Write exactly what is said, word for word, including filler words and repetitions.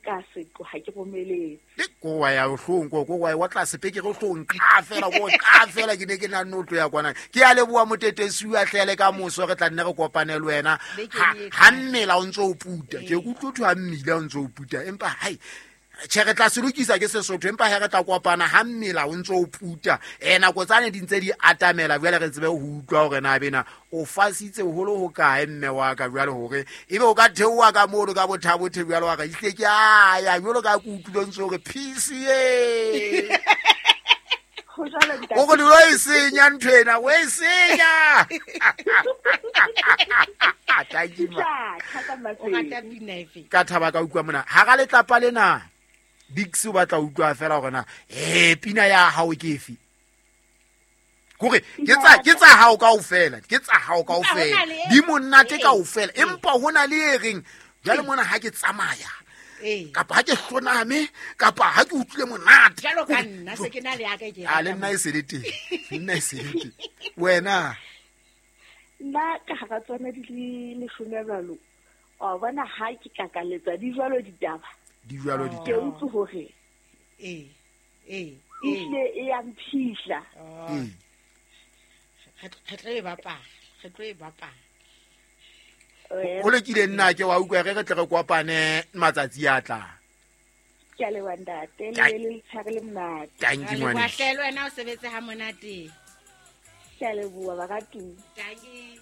Ka seqo ha ke romeletse. Le ko wa ya hlong ko ko wa wa tlase peke re hlong ka fela ko ka fela ke ne ke na notlo ya kwana. Ke a leboha Motetesi wa hlele ka moso re tla nne re kopane le wena. Ha ha mmela o ntso o puta. Ke utlwe thwe ha mmila o ntso o puta empa hai tjhe re tla se lokisa ke Sesotho empa he re tla kopana ha mmela o ntso o puta. Eh nako tsane di ntse di atamela jwale re tsebe ho utlwa hore na bena o fasitse holo ho kae mme wa ka jwale hore ebe o ka theoha ka mono ka bothabothe jwale wa ka ihle ke a ya jwalo ka ke utlwile ntse hore P C A. Ho jwalo ntate. O re lo e senya ntho ena, o e senya. Thank you, ma. Tjha, O rata pina efe? Ka thaba ka utlwa mona. Hara letlapa lena Dix o batla ho utlwa fela hore na eh pina ya hao ke efe. Kore ke tsa ke tsa hao kaofela, ke tsa hao kaofela. Di monate kaofela empa hona le e reng jwale mona ha ke tsamaya. Ee. Kapa ha ke hloname kapa ha ke utlwile monate. Jwalo ka nna se ke na le ya ka ke e A le rata nna e se le teng. Nna e se le teng. Wena Nna ka hara tsona di le leshome jwalo. Wa bona ha ke kakaletsa di jwalo ditaba. Di jwalo Ke ditaba. utlwe hore Ee. Ee. ehlile e ya mphihla. Oh. Ee. Re re tlo e bapala. Re tlo e bapala. Eh, Ho lokile nna ke wa utlwa re re tle re kopane matsatsi a tlang. Ke a leboha ntate, le Ka- be le letshehare le monate. Thank you Re leboha ngwaneso. hle le wena o sebetse ha monate. Ke a leboha baratuwa. Dankie.